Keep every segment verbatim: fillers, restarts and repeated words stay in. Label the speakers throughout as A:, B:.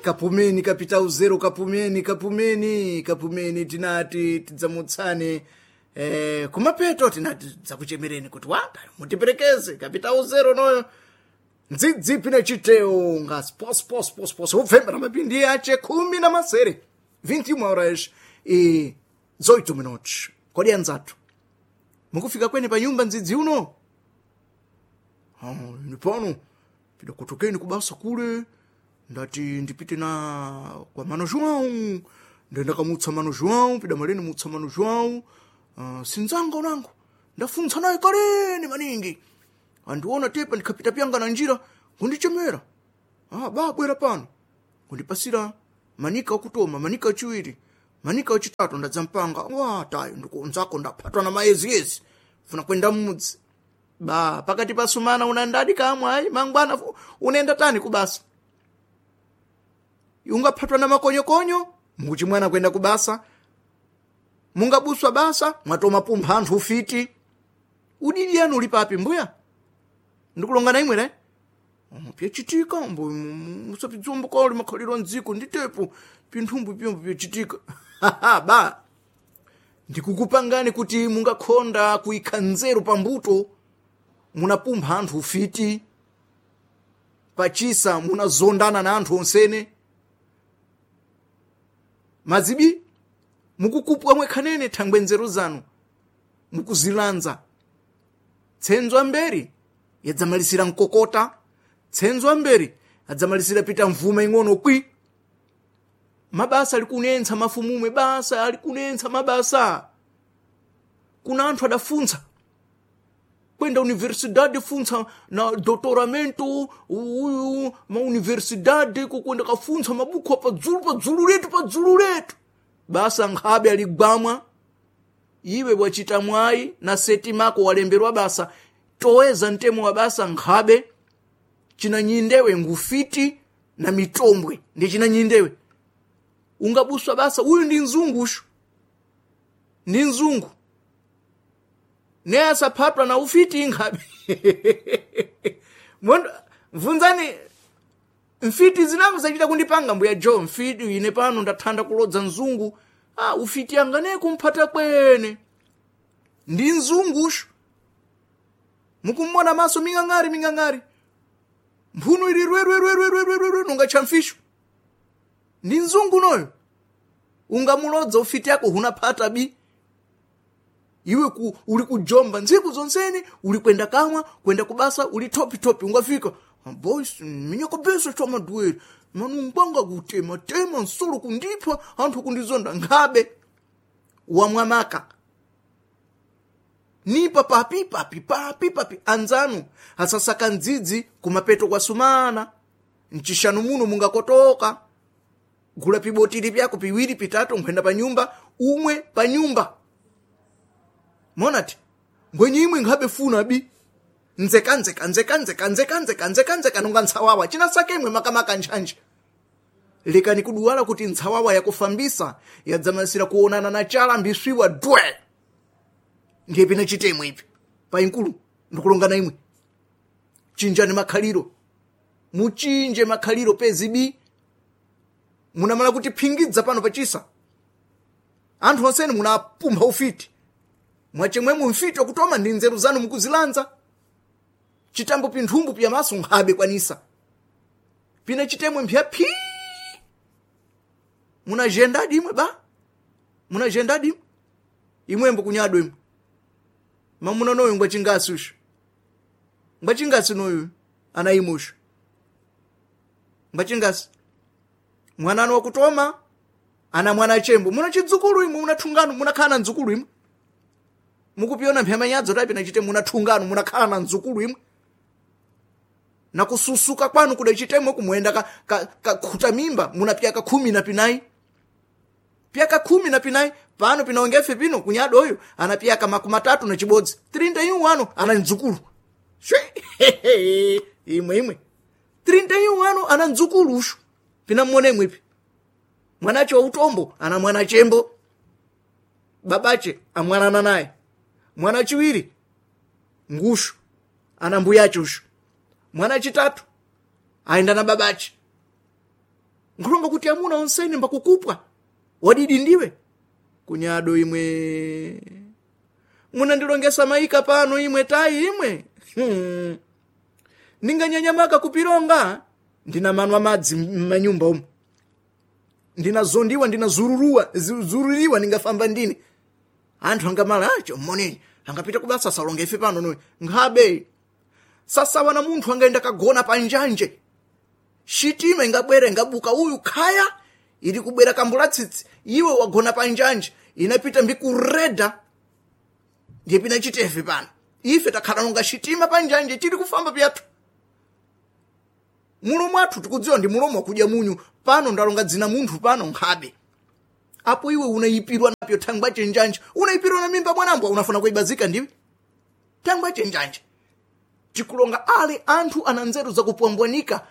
A: Kapumeni kapita uzero, kapumeni, kapumeni, kapumeni. Tinati tidzamutsane eh, kumapeto tinati tidzakuchemereni kuti wata mutiperekeze kapita uzero noyo ndzidzipi nechiteo nga spospos upfembera mapindi ache khumi na masere vinte e uma horas e dezoito minutos. Kodi anzathu mukufika kwene pa nyumba ndzidzi uno? Ah, ine pano pidakutokeni kubasa kule, ndati ndipite na kwa mano João, ndendakamutsa mano João pidamaleni mutsa mano João. uh, sinzanga unango ndafuntsa naye kaleni maningi, andiona tepa ndikhapita pyanga na njira kundichemera, ah, babwera pano kundipasira manika akutoma, manika achiwiri, manika achitatu, ndadzampanga wa tayo ndikunzako ndaphatwa na maeziyezi funa kwenda mmudzi ba pakati pa sumana unandadi kamwe ayi mangwana fu- unaenda tani kubasa ungaphatwa na makonyokonyo mukuchimwana kwenda kubasa mungabuswa basa mwatoma pumpha anthu ufiti udidi yanu uli papi mbuya ndikulonga na imwe ne pyachitika mbo musapidzombo kali makhaliro mdziko nditepo pinthumbu pyombo pyachitika ba ndikukupangani kuti mungakhonda kuyikha nzeru pambuto munapumpha anthu ufiti pachisa munazondana na anthu onsene mazibi mukukupwa mwekhanene thangwe nzeru zanu mukuzilanza tsenzo amberi yadzamalisira mkokota, tsenzo amberi adzamalisira pita mvuma ing'ono kwi mabasa alikunentsa mafumumwe basa alikunentsa mabasa kuna anthu adafuntsa kwenda universidade funtsa na doutoramento uyu mauniversidade kukwenda kafuntsa mabuku apadzulu padzulu letu padzulu letu basa nkhabe aligwamwa iwe wachita mwayi na seti mako walemberwa basa toweza mtemo wa basa nkhabe chinanyindewe ngufiti na mitombwe ndi chinanyindewe ungabuswa basa uyu ndi mzungushu ndi mzungu ne asaphatwa na ufiti inkhabe Mondo mvunzani mfiti zinango zachita kundipanga mbuya jo mfiti ine pano ndathanda kulodza mzungu ah, ufiti anga ne kumphata kwene ndi mzungushu mukumona maso ming'ang'ari ming'ang'ari mphuno ili rwerwerwerwerwerwe nunga cha mfisho ndi mzungu noyo ungamulodza ufiti yako hunaphata bi iwe ku, uli kujomba ntsiku zonsene uli kwenda kamwa kwenda kubasa uli topitopi ungafika "Ah, boys minyakabesa chamaduwere manungwanga kutema tema nsolo kundipha anthu kundizonda nkhabe wamwamaka nipa papi papi papi papi anzanu asasaka ndzidzi kumapeto kwa sumana mchishanu muno mungakotoka gula pibotili pyako piwiri pitatu nkhwenda pa nyumba umwe pa nyumba monati ngwenye imwe nkhabe funa bi nzeka nzeka nzeka nzeka nzeka nzeka nzeka nzeka nonga ntsawawa chinasake imwe makamaka ntchantcha lekani kuduwala kuti ntsawawa yakufambisa yadzamasira kuonana na chala mbiswiwa dwe ndiye pina chitemwe ipi painkulu ndikulongana imwe chinjani makhaliro muchinje makhaliro pezibi munamala kuti phingidza pano pachisa anthu onsene munapumpha ufiti mwachemwemwe mfiti wakutoma ndi nzeru zanu mukuzilanza chitambo pinthumbu piyamaso nkhabe kwanisa pina chitemwe mpya phi munajendadi imwe ba munajendadi imwe imwembo kunyado imwe mamuna noyu ngwachingasi usho ngwachingasi noyu ana imwe usho ngwachingasi mwananu wakutoma ana mwana chembo muna chidzukulu imwe muna thungano munakhala na mdzukulu imwe mukupiona mphemanyadzo tapi nachite muna thungano munakhala na mdzukulu imwe na kususuka kwanu kuda chitemwe kumwenda ka, ka, ka khuta mimba muna pyaka khumi na pinayi pyaka khumi na pinayi pano pinaongefe pino kunyadoyo ana pyaka makumi atatu na chibodzi trinta e um ano ana mdzukulu Shwi! imwe imwe trinta e um ano ana mdzukulu ushu pina mmone imwepi mwanache wa utombo ana mwana chembo babache amwanana naye mwana chiwiri ngushu ana mbuyache ushu mwana chitatu aenda na babache Nkulonga kuti amuna onsene mbakukupwa wadidi ndiwe kunyado imwe munandilongesa maika pano imwe tayi imwe hmm. Ninganyanyamaka kupilonga ndina manwa madzi m'manyumba umu ndinazondiwa ndinazururua zururiwa ningafamba ndine anthu angamala acho mmoneni angapita kubasa salonga ife pano noyo nkhabe sasawa na munthu angaenda kagona panjanje shitima ingabwera ingabuka uyu khaya ili kubwera kambula tsitsi iwe wagona panjanje inapita mbikureda ndiye pina chitefe pano ife takhala nonga shitima panjanje tili kufamba pyathu mulomo athu tikudziwa ndi mulomo wakudya munyu pano ndalonga dzina munthu pano nkhabe apo iwe unayipirwa napyo thangwa chenjanje unayipirwa na mimba mwanambwa unafuna kuibazika ndiwe thangwa chenjanje tikulonga ale anthu ana nzeru zakupwambwanika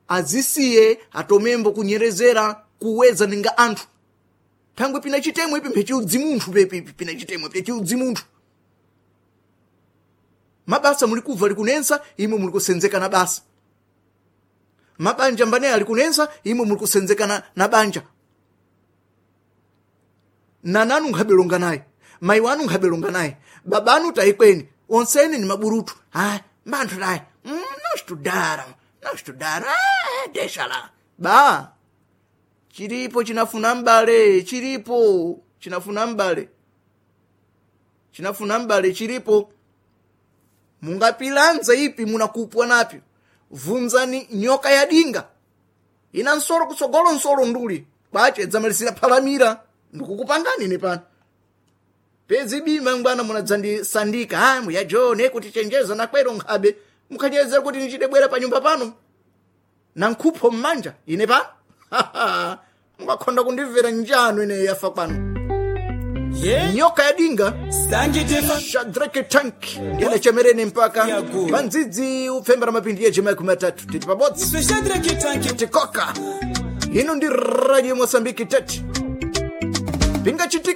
A: azisiye atomembo kunyerezera kuweza ninga anthu thangwe pina chitemwe ipi mphechiudzi munthu pepi pina chitemwe phechiudzi munthu mabasa muli kubva likunensa imwe muli kusenzeka na basa mabanja mbane ali kunensa imwe muli kusenzeka na, na banja nananu nkhabelonga naye mayi wanu nkhabelonga naye babanu tayikweni onsene ni maburutu ah manthu tayi mm, não estudaram não estudaram ah, deixa lá ba chilipo chinafuna mbale chilipo chinafuna mbale chinafuna mbale chilipo mungapilanza ipi munakupwa napyo vunzani nyoka ya dinga ina nsolo kutsogolo nsolo nduli kwache dzamalisira phalamira ndikukupangani ine pano pezi bima ngwana munadzandisandika ah muya jone kuti chenjeza nakwero nkhabe mukhanyezera kuti ndichidebwera pa nyumba pano na nkhupho mmanja ine pano mukakhonda kundimvera njano ine yafa kwano
B: ye
A: nyoka ya dinga
B: sangitefa
A: shadrake tank ndinachemerene mpaka
B: Yago.
A: pandzidzi upfembera mapindi yejema matatu titi pabodzi
B: iswe shadrake tanki
A: tikoka ino ndi radio mosambiki tete pingachitika